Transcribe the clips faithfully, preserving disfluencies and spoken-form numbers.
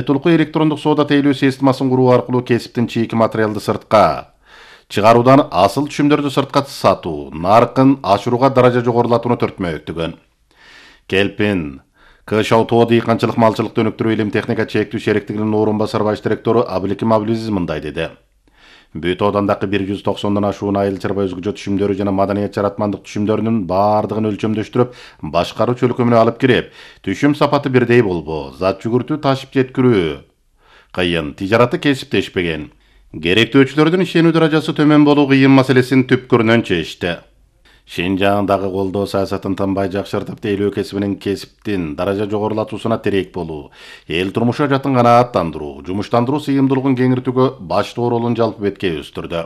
Толку электрондук соода тейлөө системасын куруу аркылуу кесиптин чийки материалды сыртка чыгаруудан асыл түшүмдөрдү сыртка сатуу, наркын ашырууга даража жогорулатууну төртмөктүгөн. Келпин Кышау тоо дыйканчылык малчылыкты өнүктүрүү илим техника чектүү шериктигинин орун басар баш директору Абыликим Абылизиз мындай деди. Бүт оодандагы бир жүз токсондон ашуун айыл чарба өзгөчө түшүмдөрү жана маданият жаратмандык түшүмдөрүнүн баардыгын өлчөмдөштүрүп, башкаруу чөлкөмүнө алып кирип, түшүм сапаты бирдей болбоо, зат жүгүртүү ташып жеткирүү кыйын, тижараты кесиптешпеген. Керектөөчүлөрдүн ишенүү даражасы төмөн болуу кыйын маселесин түпкүрүнөн чечти. Шинжаңдагы колдоо саясатын тынбай жакшыртып, тейлөө кесибинин кесиптин даража жогорулатуусуна терек болуу, эл турмушу жатын канааттандыруу, жумуштандыруу сыйымдуулугун кеңиртүүгө баштуу ролун жалпы бетке өстүрдү.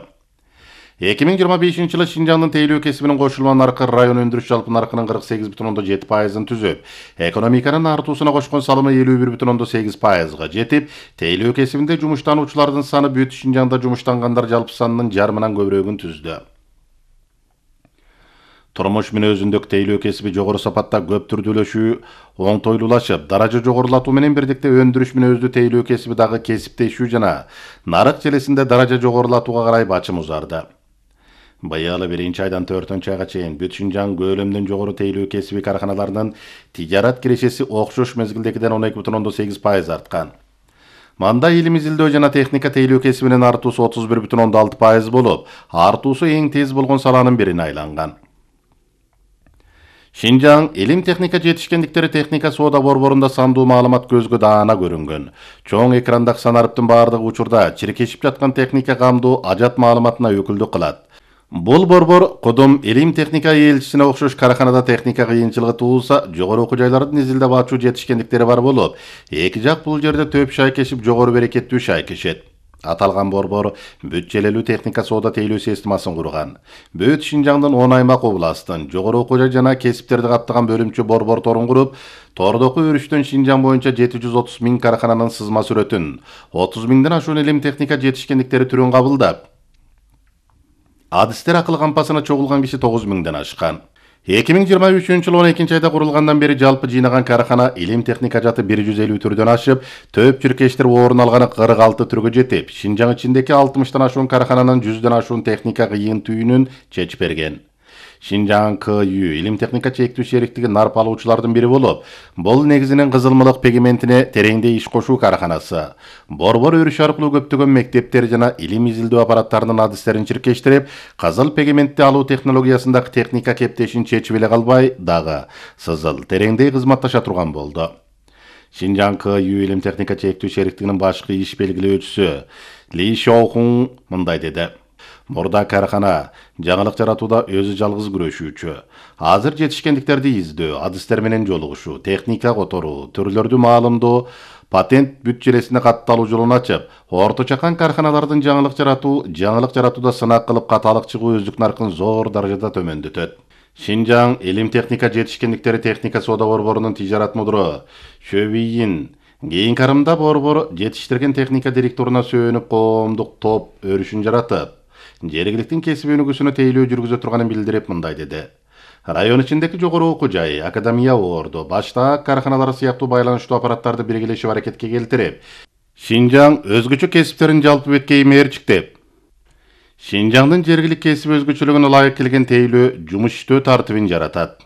эки миң жыйырма бешинчи жылы Шинжаңдын тейлөө кесибинин кошулма наркы район өндүрүш жалпы наркынын кырк сегиз бүтүн ондон жети пайызын түзүп, экономиканын артуусуна кошкон салымы элүү бир бүтүн ондон сегиз пайызга жетип, тейлөө кесибинде жумуштануучулардын саны бүт Шинжаңда жумуштангандар жалпы санынын жарымынан көбүрөгүн түздү. Турмуш мүнөзүндөгү тейлөө кесиби жогору сапатта көп түрдүүлөшүү оңтойлуулашып, даража жогорулатуу менен бирдикте өндүрүш мүнөздүү тейлөө кесиби дагы кесиптешүү жана нарык желесинде даража жогорулатууга карай бачым узарды. Быйыл биринчи айдан төртүнчү айга чейин бүт Шинжаң көлөмдөн жогору тейлөө кесиби карканаларынын тижарат кирешеси окшош мезгилдегиден он эки бүтүн ондон сегиз пайыз арткан. Манда илим изилдөө жана техника тейлөө кесибинин артуусу отуз бир бүтүн ондон алты пайыз болуп, артуусу эң тез болгон саланын бирине айланган. Шинжаң илим техника жетишкендиктери техника соода борборунда сандуу маалымат көзгө даана көрүнгөн. Чоң экрандагы санарыптын баардыгы учурда чиркешип жаткан техника камдуу ажат маалыматына өкүлдүк кылат. Бул борбор Кудум илим техника элчисине окшош караканада техника кыйынчылыгы туулса, жогору окуу жайлардын изилдеп ачуу жетишкендиктери бар болуп, эки жак бул жерде төп шайкешип жогору берекеттүү шайкешет. Аталган борбор бүт желелүү техника соода тейлөө системасын курган. Бүт Шинжаңдын он аймак областын жогору окуу жай жана кесиптерди каптаган бөлүмчө борбор торун куруп, тордоку өрүштөн Шинжаң боюнча жети жүз отуз миң каракананын сызма сүрөтүн, отуз миңден ашуун илим техника жетишкендиктери түрүн кабылдап, адистер акыл кампасына чогулган киши тогуз миңден ашкан. эки миң жыйырма үчүнчү жылы он экинчи айда курулгандан бери жалпы жыйнаган каракана илим техника жаты бир жүз элүү түрдөн ашып, төп чиркештер орун алганы кырк алты түргө жетип, Шинжаң ичиндеги алтымыштан ашуун каракананын жүздөн ашуун техника кыйын түйүнүн чечип берген. Шинжаң К Ю илим техника чектүү шериктиги нарп алуучулардын бири болуп, бул негизинен кызылмылык пигментине тереңдей иш кошуу караканасы. Борбор өрүш аркылуу көптөгөн мектептер жана илим изилдөө аппараттарынын адистерин чиркештирип, кызыл пигментти алуу технологиясындагы техника кептешин чечип эле калбай, дагы сызыл тереңдей кызматташа турган болду. Шинжаң К Ю илим техника чектүү шериктигинин башкы иш белгилөөчүсү Ли Шоухун мындай деди. Мурда каракана жаңылык жаратууда өзү жалгыз күрөшүүчү. Азыр жетишкендиктерди издөө, адистер менен жолугушуу, техника которуу, түрлөрдү маалымдоо, патент бүт желесине катталуу жолун ачып, орто чакан карканалардын жаңылык жаратуу, жаңылык жаратууда сынак кылып каталык чыгуу өздүк наркын зор даражада төмөндөтөт. Шинжаң илим техника жетишкендиктери техника соода борборунун тижарат мудуру Шөбийин кийинки арымда борбор жетиштирген техника директоруна сөөнүп коомдук топ өрүшүн жаратып, жергиликтин кесип өнүгүүсүнө тейлөө жүргүзө турганын билдирип мындай деди. Район ичиндеги жогору окуу жай, академия орду, баштаак карканалары сыяктуу байланыштуу аппараттарды биргелешип аракетке келтирип, Шинжаң өзгөчө кесиптерин жалпы бетке иймээрчиктеп, Шинжаңдын жергилик кесип өзгөчөлүгүнө ылайык келген тейлөө жумуш иштөө тартибин жаратат.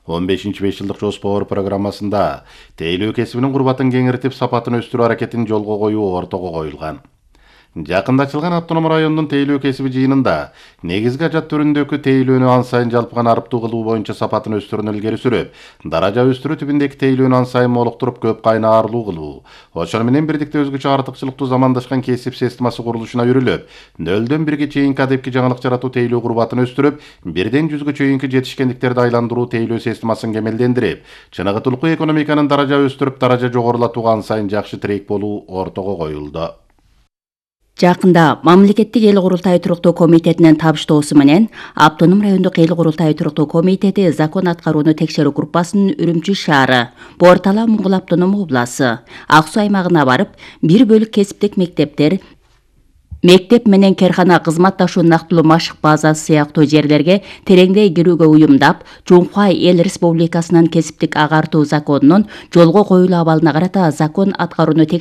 он бешинчи беш жылдык жоспор программасында тейлөө кесибинин курбатын кеңиртип, сапатын өстүрүү аракетин жолго коюу ортого коюлган. Жакында ачылган автоном райондун тейлөө кесиби жыйынында негизги ажат түрүндөгү тейлөөнү ан сайын жалпыган арыптуу кылуу боюнча сапатын өстүрүүнү илгери сүрүп, даража өстүрүү тибиндеги тейлөөнү ан сайын молуктуруп, көп кайнаарлуу кылуу, ошону менен бирдикте өзгөчө артыкчылыктуу замандашкан кесип системасы курулушуна үрүлүп, нөлдөн бирге чейинки адепки жаңылык жаратуу тейлөө курбатын өстүрүп, бирден жүзгө чейинки жетишкендиктерди айландыруу тейлөө системасын кемелдендирип, чыныгытылуу экономиканын даража өстүрүп, даража жогорулатууга ан сайын жакшы тирек болуу ортого коюлду. Жакында Мамлекеттик эл курултайы туруктуу комитетинин табыштоосу менен Автоном райондук эл курултайы туруктуу комитети закон аткарууну текшерүү группасынын Үрүмчү шаары, Бортала Муңгул автоном обласы, Ак Суу аймагына барып, бир бөлүк кесиптик мектептер, мектеп менен керхана кызматташуу нактылуу машык базасы сыяктуу жерлерге тереңдей кирүүгө уюмдап, Жумхуай эл республикасынын кесиптик агартуу законунун жолго коюлуу абалына карата закон аткарууну текшерүү